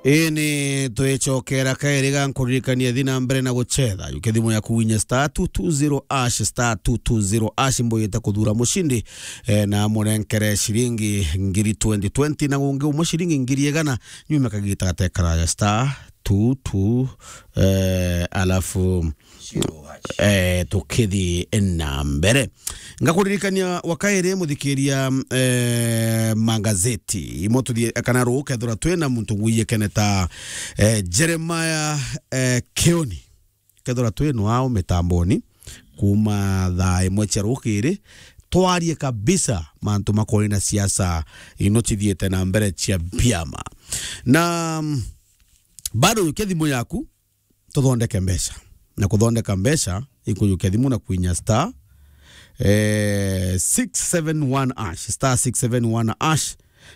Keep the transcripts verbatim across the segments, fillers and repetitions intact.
Ini twicokera kairi ga nkuririkania, thi na mbere na gucetha. Jukia thimu yaku winye star two two zero hash, star two two zero hash, mbuyite kuthura mucindi, eh, na munenkere ciringi ngiri twenty twenty, na ungi umwe ciringi ngiri igana, nyuma kagita gatekaraja star two two, eh, alafu eh, tukithi na mbere. Ngakuririkania wa kairi, muthikiria, eh, magazeti. Imo tuthie kana ruu kethira twina muntu ngwiyekene ta, eh, Jeremiah, eh, Kioni. Kethira twino ao mitamboni, kuma thaa imwe cia rukiri, twarie kabisa mantu makonie na siasa ino cithiite na mbere cia biama. Na, mm, bado jukia thimu yaku, tuthondeke mbeca. Na kuthondeka mbeca, ikujukia thimu na kwinya star, eh, six seven one hash, star six seven one hash.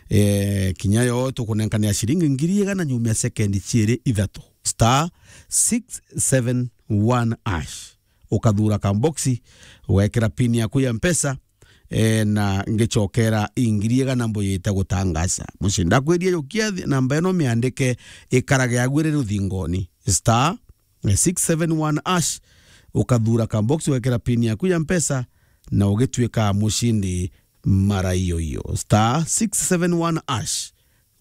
Eh, kinya yo tukunenkania ciringi ngiri igana nyuma ya sekendi ciiri ithatu. Star six seven one hash. Ukathura kamboxi, ugekira pin yaku ya Mpesa, eh, na ngicokera ingiri igana mbuyite gutangaza. Mucii ndakwirie jukia thi-, namba ino miandike ikarage aguire ruthingoni. Star, eh, six seven one hash, ukathura kamboxi, ugekira pin yaku ya Mpesa, na ugituika mucindi mara iyo iyo. Star six seven one hash.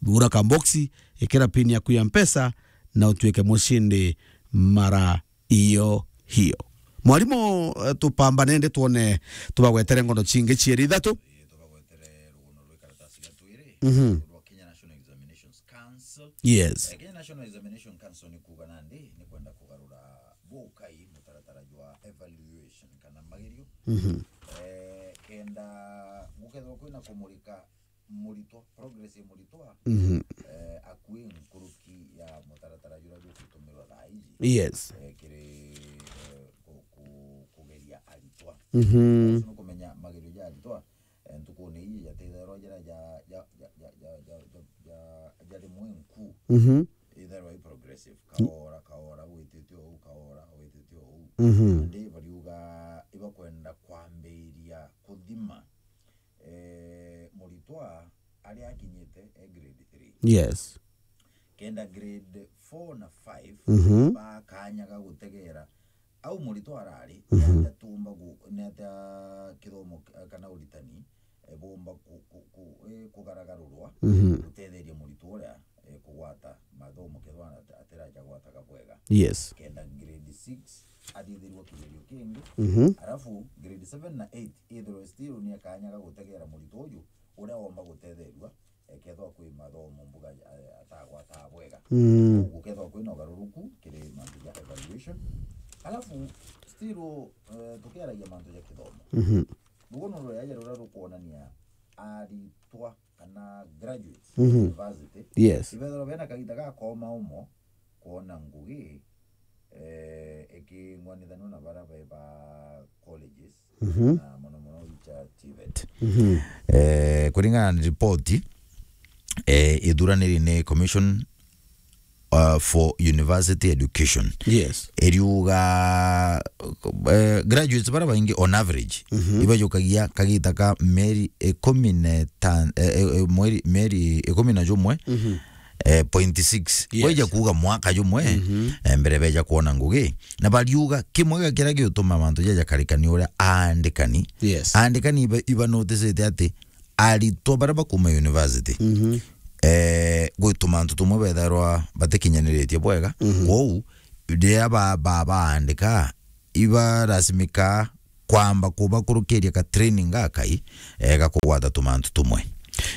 Thura kamboxi, ikira pin yaku ya Mpesa, na utuike mucindi mara iyo hiyo. Mwarimu, eh, tupambane ndi twone, tubagwetere ngono cingi cieri ithatu. Ii, tubagwetere rugono rwa ikaratasi ga twiri, mhm, rwa Kenya National Examinations Council. Yes. Eh, Kenya National Examination Council ni kuuga nandi ni kwenda kugarura bukai mutaratara jwa evaluation kana magerio. Mhm. Eh, kenda gukethirwa kwina kumurika muritwa, progress ya muritwa, mhm, eh, akui nkuruki ya mutaratara juria jugutumirwa thaa iji. Yes. Eh, kiri, eh, ku-, ku-, kugeria aritwa. Mhm. Ucio nukumenya magerio ja aritwa, eh, ntukune iji jatithairwa jira ja, ja, ja rimwe nku. Mhm. Ithairwa i progressive. Kaora, kaora, gwitite ou, kaora, gwitite ou. Mhm. Nandi bariuga ibakwenda kwambiria kuthima eh, muritwa aria akinyite e grade three. Yes. Kenda grade four na five, mhm, ba kanya ga gutegera au muritwa arari, mhm, ni atia tumba gu-, ni atia kithomo k-, kana uritani, eh, bumba ku-, ku-, ku-, eh, kugaragarurwa, mhm, gutetheria muritwa uria, eh, kugwata mathomo kethwa ati-, atiraja gwataga bwega. Yes. Kenda grade six athithirwa kigerio kingi, mhm, alafu grade seven na eight ithirwe still ni akanya ga gutegera muritwa uju uria womba gutetherua, eh, kethwa kwi mathomo mbuga, eh, atagwata bwega. Mm. Koguo kethwa kwina ugaruruku kiri mantu ja evaluation. Alafu still, eh, tukiaragia mantu ja kithomo. Mhm. Rugono ruria ruria rukwonania aritwa kana graduates, mhm, university, yes, ibethirwa bena kagita ga koma umo kwona ngugi, eh, iking'wanithanua na baria be ba colleges, mhm, na mono mono icha TVET. Mhm. Eh, kuringana na ripoti, eh, ithuraniri ni Commission, uh, for University Education. Yes. Iriuga, eh, graduates baria baingi on average, mhm, ibajukagia kagita ka mieri ikumi na itano, eh, eh, eh, mweri, mieri ikumi na jumwe, mhm, eh, point six. Yes. Kwaija kuuga mwaka jumwe, mhm, eh, mbere beja kwona ngugi. Na bariuga kimwe gia kiria giutuma mantu jaja jakarikania uria aandikani. Yes. Aandikani iba, iba noticite ati aritwa baria bakuuma university, mhm, eh, gwi tumantu tumwe bethairwa batikinyaniritie bwega. Mhm. Kwou, riria ba, ba, baandika, ibarasimika kwamba kubakurukiria ka training gakai, eh, ga kugwata tumantu tumwe.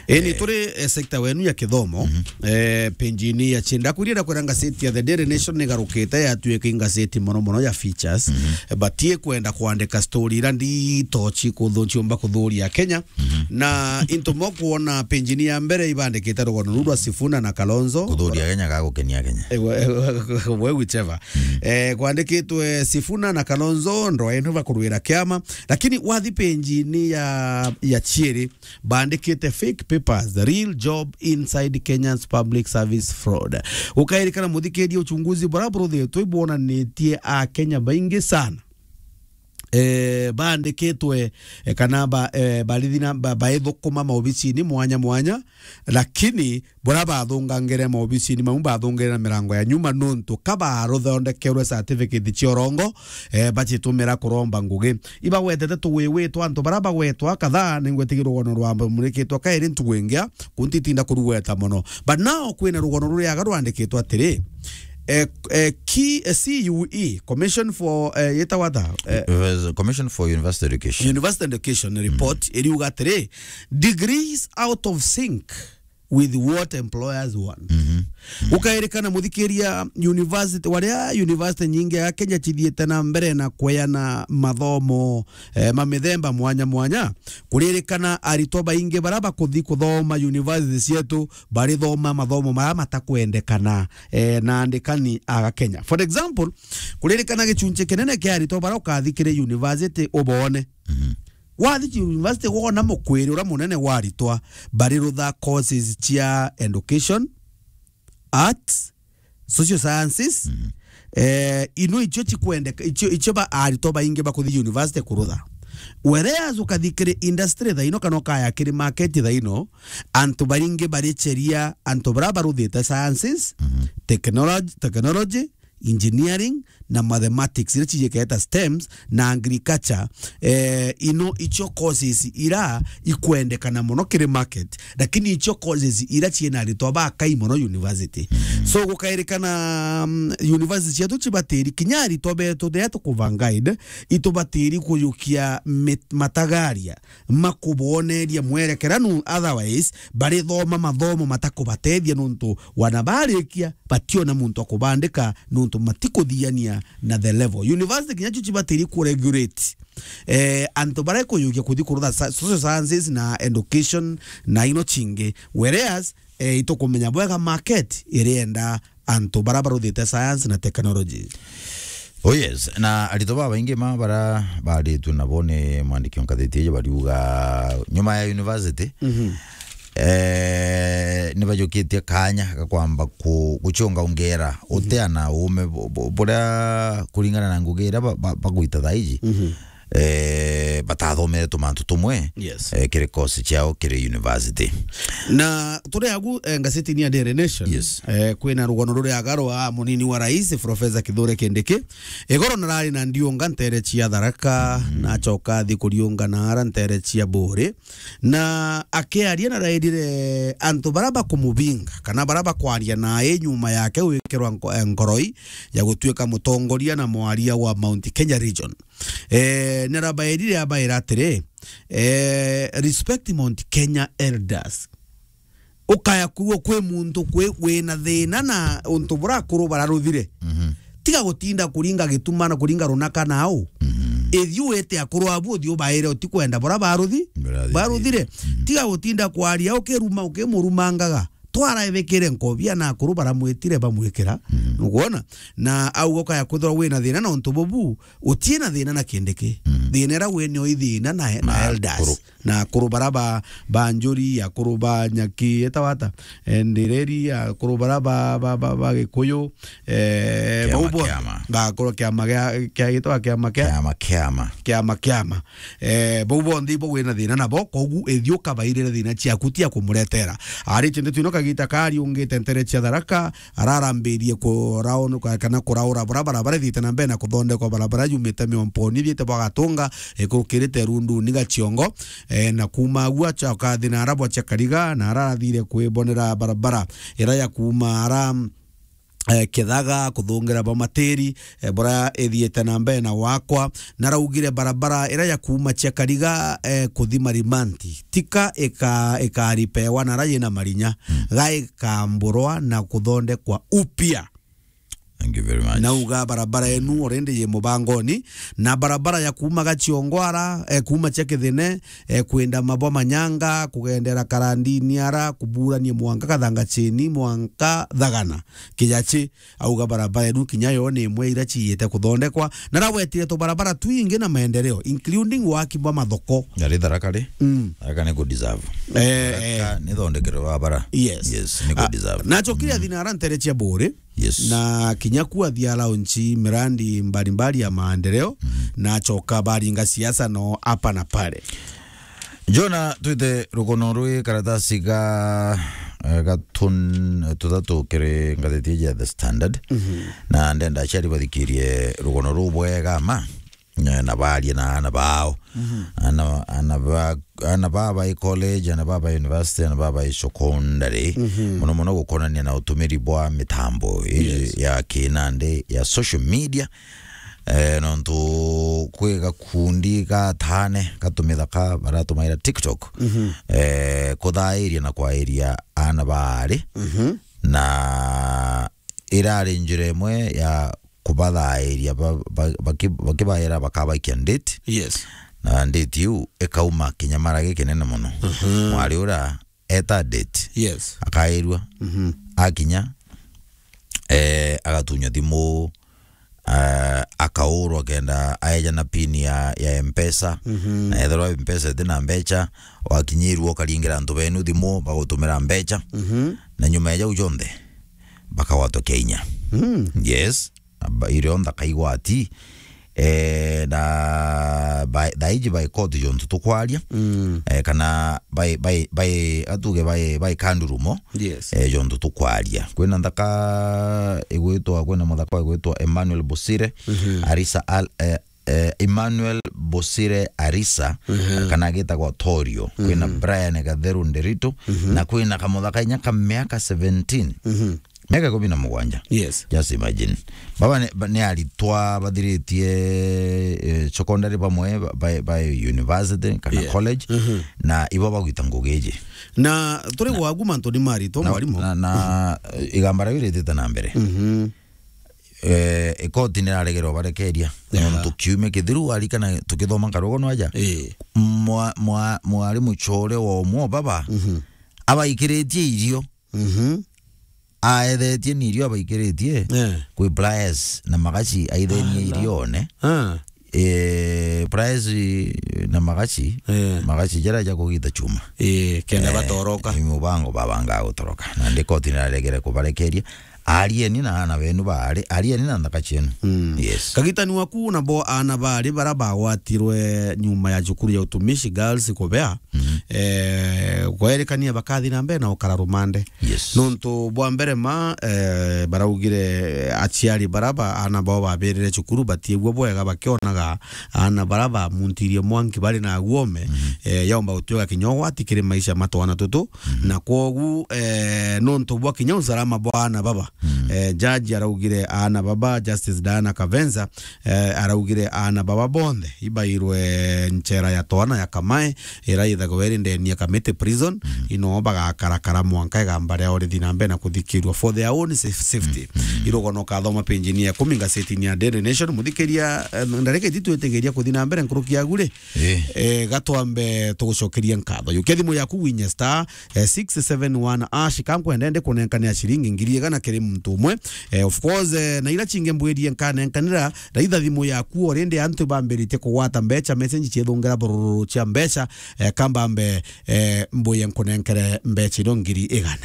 Eni, eh, turi, eh, sector wenu ya kithomo, mhm, eh, page-ini ya chini, ndakwiria ndakwira ngaseti ya The Daily Nation nigarukite yatuika ngaseti mono mono ya features. Mhm. Eh, batie kwenda kwandika story ira ndito cikuthu-, ciumba kuthuria Kenya. Mhm. Na into mo kuona page-ini ya mbere ibandikite rugono ruu rwa Sifuna na Kalonzo. Kuthuria Kenya ga gukenia Kenya. Eh, we, we, we, whichever. Mhm. Eh, kwandikitwe Sifuna na Kalonzo, ndwa enu bakurwira kiama. Lakini wathi page-ini ya, ya chieri, bandikite fake papers, the real job inside Kenya's public service fraud. Ukairikana muthikiria, uchunguzi buria buruthitwe ibwonanitie Akenya baingi sana eh, baandikitwe, eh, kana ba, eh, barithi na, ba, baithukuma maobicini mwanya mwanya, lakini bura bathungangire maobicini mau bathungire na mirango ya nyuma, nontu ka baruthondekerwe certificate cia urongo, eh, bacitumira kuromba ngugi. Ibagwetete tuwiwi twa antu bara bagwetwa kadhaa, ningwetigira rugono rwa murikitwa kairi ntugu ingia, kuntitinda kurugweta mono. But now kwina rugono ruriaga rwandikitwe atiri, eh, eh, ki-, eh, C U E, Commission for, eh, yetagwa ata? Eh, Commission for University Education. University Education report iriuga atiri, degrees out of sync with what employers want. Mhm. Ukairikana muthikiria university, waria university nyingi ya Kenya cithiite na mbere na kweana mathomo, eh, ma mithemba mwanya mwanya, kuririkana aritwa baingi bara bakuthi kuthoma university cietu barithoma mathomo mara matakwendekana, eh, na andikani aga Kenya. For example, kuririkana gichunchi kinene kia aritwa bara ukathi kiri university ubone. Mhm. Wathi university wona mukwiri ura munene wa aritwa barirutha courses cia education, arts, social sciences, mhm, eh, ino icio cikwendeka, icio, icio ba aritwa baingi bakuthi university kurutha. Whereas ukathi kiri industry thaino kana ukaya kiri market thaino, antu baingi baricheria antu bara baruthite sciences, mhm, technology, technology, engineering na mathematics, iria cijiketa stems na agriculture, eh, ino icio courses ira ikwendekana mono kiri market, lakini icio courses ira ciina aritwa bakai mono university. Mm. So gukairikana, mm, university cietu cibatiri kinya aritwa betu ria tukuva guide, itubatiri kuyukia mit-, matagaria makuboneria mwerekera nu, otherwise barithoma mathomo matakubatethia nuntu wana barikia bationa muntu akubandika nuntu matikuthiania na the level. University kinya cio cibatiri kuregulate, eh, antu bara ikuyukia kuthi kurutha sa-, social sciences na education na ino cingi. Whereas, eh, itukumenya bwega market irienda antu bara baruthite science na technology. Oh yes, na aritwa babaingi ma bara baritwe nabo ni mwandiki o ngathiti iji bariuga nyuma ya university, mhm, eh, ni bajukitie kanya ga kwamba ku-, gucunga ungera, mhm, uteana uume bu-, bu-, buria kuringana na ngugi iria ba-, ba-, bagwita thaa iji. Mhm. Eh, batathomere tumantu tumwe, yes, eh, kiri course ciao kiri university. Na turi agu, eh, ngazetini ya Daily Nation, yes, eh, kwina rugano ruria aga rwa munini wa rais, Professor Kithure Kindiki. Igoro narari na ndiunga ntere cia Tharaka, mm, nacoka athi kuriunga naara ntere cia Buuri. Na akiaria narairire antu bara bakumubinga, kana bara bakwaria nae nyuma yake gwikirwa nko-, eh, nkoroi ya gutuika mutongoria na mwaria wa Mount Kenya region. Eh, narabairire abaira atiri, eh, respect Mount Kenya elders. Ukaya kuo kwi muntu kwi wina thina na untu bura akuru bararuthire. Mhm. Tiga gutinda kuringa gituma na kuringa runaka nau. Mhm. Ithi wite akuru abu uthi ubaire utikwenda bura baruthi-, bararuthire. Mhm. Tiga gutinda kwaria ukiruma ukimurumangaga. Twara ebekire nkobia na akuru baramwitire bamwikira. Mhm. Nukwona? Na au ukaya kwithirwa wina thina na untu bubu, utie na thina na Kindiki. Mhm. Thina ira wini o ithina na, na elders. Akuru. Na akuru bara ba, ba Njuri, akuru ba Nyaki, etagwa ata? Eh, Ndireri, akuru bara ba, ba, ba, ba Gikuyu, eh, kiama, bau bonthe. Kiama. Ba akuru kiama gia, kia gitwa kiama kia? Kiama, kiama. Kiama, kiama. Eh, bau bonthe ibo wina thina nabo, kogu ithi ukabairire thina ciaku tia kumuretera. Aritie ndeto ino kagita kari ungite ntere cia Tharaka, ararambirie kuraon-, kana kuraura barabara bara ithiite na mbere na kuthondekwa, barabara yumite Miomponi ithiite bwa Gatunga, ikurukirite Runduni Gaciongo, eh, na kuuma agu acha akathi na arabwa cia Kariga, na arathire kwibonera barabara ira ya kuuma ara, eh, Kithaga kuthungira Bomatiri, eh, bura ithiite na mbere na wakwa, na araugire barabara ira ya kuuma cia Kariga, eh, kuthi Marimanti, tika ika-, ikaripewa na ara yina marinya, mm, ga ikamburwa na kuthondekwa upya. Thank you very much. Nauga barabara enu already ye mubangoni, na barabara ya kuuma Gaciongo ara, eh, kuuma cia Kithine, eh, kwenda Mabwa Manyanga, kugendera Karandini ara, kuburania mwanka Kathanga Cheni, mwanka Thagana. Kijachi, auga barabara enu kinya yo ni imwe ira ciite kuthondekwa, na aragwetire tubarabara twingi na maendeleo, including waki bwa mathoko. Ari Tharaka ri? Mm. Tharaka ni ku deserve. Eh, Tharaka eh. Ni thondekero wa bara. Yes. Yes, ni ku deserve. Ah, nachokire athi na ara ntere cia Buuri. Yes. Na kinya ku athi alaunchi mirandi mbalimbali ya maendeleo. Mm. na acoka baringa siasa no hapa na pale. Jona, twite rugono rwi karatasi ga, eh, gatun-, tuthatu kiri ngatheti ya The Standard. Mhm. Na ndenda aciari bathikirie rugono ruu bwega ma, eh, na barie na ana bao. Mhm. Ana, ana ba, ana ba bai college, ana ba bai university, ana ba bai secondary. Mhm. Muno muno gukonania na utumiri bwa mitambo iji Yes. ya kinandi ya social media. Eh, nontu kwi gakundi gatane gatumithaka baratumaira TikTok, Mhm. eh, kuthairia na kwairia ana baari, Mhm. na irari njira imwe ya kubathairia ba-, ba-, baki-, bakibaira bakabaikia nditi. Yes. Na nditi iu ikauma kinyamara gikinene mono. Mhm. Mwari uria eta date. Yes. Akairua. Mhm. Akinya, eh, agatunywa thimu, eh, akaurwa kenda aeja na pin ya, ya M-Pesa. Mhm. Na ethirwa M-Pesa iti na mbecha, wakinyirua ukaringira antu benu thimu, bagutumira mbecha. Mhm. Na nyuma ya jau jonthe, bakagwatwa kia inya. Mm. Yes. Aba-, irio nthaka igwati, eh, na ba-, thaiji bai koti jontu tukwaria, Mm. eh, kana bai, bai, bai, atuge bai, bai kandurumo, Yes. eh, jontu tukwaria. Kwina nthaka igwitwa, kwina muthaka igwitwa Emmanuel Bosire, Mhm. Arisa Al-, eh, eh, Emmanuel Bosire Arisa, Mhm. kana agitagwa Torio. Kwina Mhm. Brian Gatheru Nderitu, Mhm. na kwina kamuthaka inya ka miaka seventeen. Mhm. Miaka ikumi na mugwanja. Yes. Just imagine. Baba ni, ba-, ni aritwa bathiritie, eh, secondary bamwe ba, ba, ba university kana Yeah. college, Mhm. na ibo bagwita ngugi iji. Na turi Na gwaku mantu ni maritwa, na, mwarimu. Na, na, eh, igamba riu ritite na mbere. Mhm. Eh, ikoti ni raregere ubarekeria. Yeah. Nontu kiumia kithiru arikana tukithoma nkarugo nwaja. Eh. Mwa-, mwa-, mwarimu chore wa umwe baba, Mhm. abaikiritie irio. Mhm. Aethetie ni irio abaikiritie. Eh. Kwi pliers na magaci aithenie Ala. irione. Ah. Eh, pliers na magaci. Eh. Magaci jara ja kugita chuma. Eh, kenda Eh, batoroka. Ni mubango babanga gutoroka. Na ndi koti ni raregere kubarekeria. Arieni na ana benu baari, arieni na nthaka cienu. Mm. Yes. Kagitani waku nabo ana baari bara bagwatirwe nyuma ya cukuru ya utumishi girls kubea. Mhm. Eh, kwerikania bakathi na mbere na ukara rumande. Yes. Nontu bwa mbere ma, eh, baraugire aciari bara ba ana bao babirire cukuru batiegua bwega bakionaga ana bara bamuntirie mwanki bari na guome, Mhm. eh, yaumba gutwika kinya ugwati kiri maisha ma twana tutu. Mhm. Na kwogu, eh, nontu bwa kinya usalama bwa ana baba, Mm. eh, jaji araugire ana baba, Justice Diana Kavenza, eh, araugire ana baba bonthe ibairwe nchera ya twana ya Kamae, ira ithagwo iri ndeni ya Kamiti Prison, Mm. ino bagakarakara mwanka igamba riao rithi na mbere na kuthikirua for their own saf-, safety. Mm. Irugono kathoma page-ini ya ikumi ngazetini ya Daily Nation. Muthikiria, eh, ndareke iti twitigiria kuthi na mbere nkuruki yagu ri, Eh. Eh, gatwambe tugucokeria nkatho. Yukia thimu yaku winye star, eh, six seven one hash, ka nkwenda ndi kunenkania ciringi ngiri igana kiri muntu umwe. Eh, of course, eh, na ira cingi mbwirie nkanenkanira, raitha thimu yaku already antu bambiritie kugwata mbeca, message ciethungira bururu cia mbeca, eh, kambambe, eh, mbuye nkunenkere mbeca irio ngiri igana.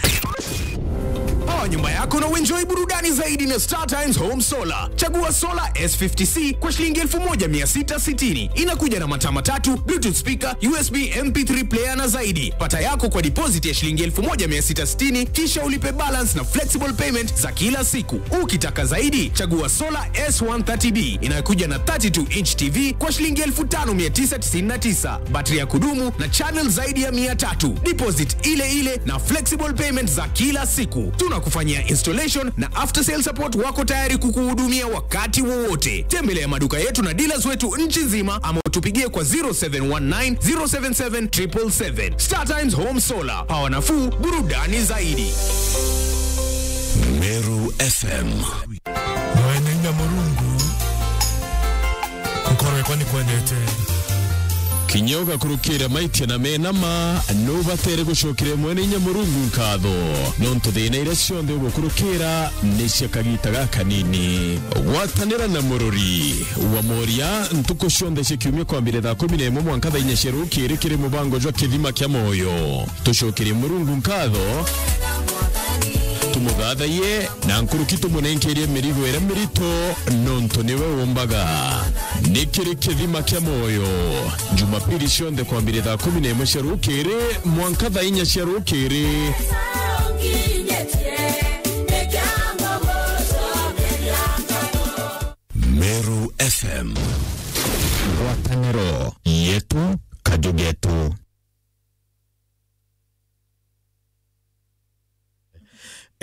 Power nyumba yako na uenjoy burudani zaidi na Star Times Home Solar. Chagua Solar S fifty C kwa shilingi elfu moja mia sita sitini. Inakuja na mataa matatu, Bluetooth speaker, U S B M P three player na zaidi. Pata yako kwa deposit ya shilingi elfu moja mia sita sitini, kisha ulipe balance na flexible payment za kila siku. Ukitaka zaidi, chagua Solar S one thirty B inayokuja na thirty-two inch T V kwa shilingi elfu tano mia tisa tisini na tisa. Battery ya kudumu na channel zaidi ya mia tatu. Deposit ile ile na flexible payment za kila siku. Tunakufanyia installation na after sale support, wako tayari kukuhudumia wakati wowote. Tembelea maduka yetu na dealers wetu nchi nzima ama utupigie kwa zero seven one nine, zero seven seven, triple seven. Star Times Home Solar. Power nafuu, burudani zaidi. Meru F M. Mwene inya Murungu, nkoro yakwa ni kwendete. Kinya ugakurukira maitia na mena ma, nubatere gucokera Mwene inya Murungu nkatho, nontu thina iria cionthe ugukurukira ni cia kagita gakanini. Gwatanira na Murori wa Moria ntuku cionthe cia kiumia kwambire thaa kumi na imwe mwanka thaa inya cia rukiri kiri mubango jwa Kithima kia Moyo. Tucokerie Murungu nkatho. Muthathaiye na nkuruki tumunenkerie mirigo iria mirito, nontu niwe umbaga. Ni kiri kithima kia mwoyo, Jumapili cionthe kwambiria thaa kumi na imwe cia rukiri mwanka thaa inya cia rukiri. Meru F M. Ngwataniro yetu, kaju getu.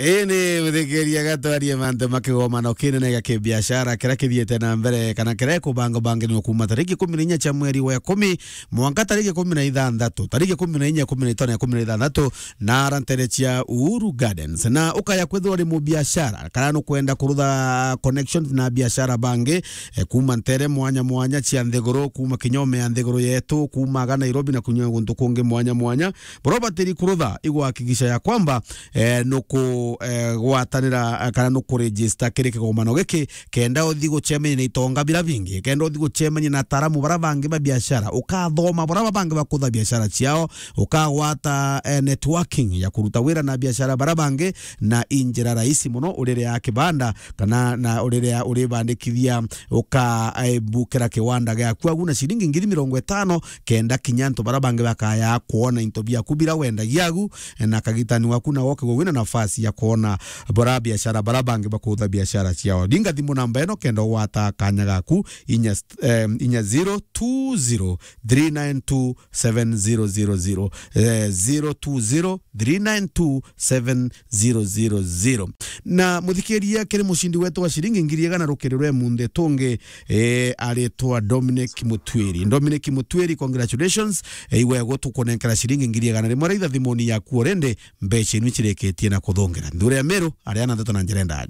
Ii ni muthikiria gatwarie mantu ma kigomano kinene gia kibiashara kiria kithiite na mbere, kana kiria gikubangabangirwa kuuma tariki kumi na inya cia mweri wa ikumi mwanka tariki kumi na ithanthatu, tariki kumi na inya, kumi na itano na kumi na ithanthatu, na ara ntere cia Uhuru Gardens. Na ukaya kwithirwa uri mubiashara, kana nukwenda kurutha connections na biashara bangi, eh, kuuma ntere mwanya mwanya cia nthiguru, kuuma kinya ume ya nthiguru yetu, kuuma aga Nairobi na kunya guntu kungi mwanya mwanya, buria ubatiri kurutha, igwakikisha ya kwamba, eh, nuku, eh, gwatanira, eh, kana nuku register kiri kigomano giki, kenda uthi gucemania na itonga biria bingi, kenda uthi gucemania na ataaramu baria bangi ba biashara, ukathoma baria bangi bakutha biashara ciao, ukagwata, eh, networking ya kuruta wira na biashara baria bangi, na i njira rahisi mono urirea kibanda, kana na urirea uribandikithia, uka, eh, bukira kiwanda giaku agu na ciringi ngiri mirongo itano, kenda kinya antu baria bangi bakaya kwona into biaku biria wendagia agu, eh, na kagitani waku na goke gwina nafasi ya kwona bora biashara baria bangi bakutha biashara ciao. Ringa thimu namba ino kenda ugwata kanya gaku, inya st-, eh, inya zero two zero three nine two seven zero zero zero, eh, zero two zero three nine two seven zero zero zero. Na muthikiria, kiri mucindi wetu wa ciringi ngiri igana rukiri rwe munthi tungi, eh, aritwa Dominic Mutwiri. Dominic Mutwiri, congratulations. Eh, iwe gutukunenkera ciringi ngiri igana rimwe raitha thimuni yaku already, mbeca inu icirikitie na kuthungira. Nthure ya Meru, aria na ndeto na njira ndaja.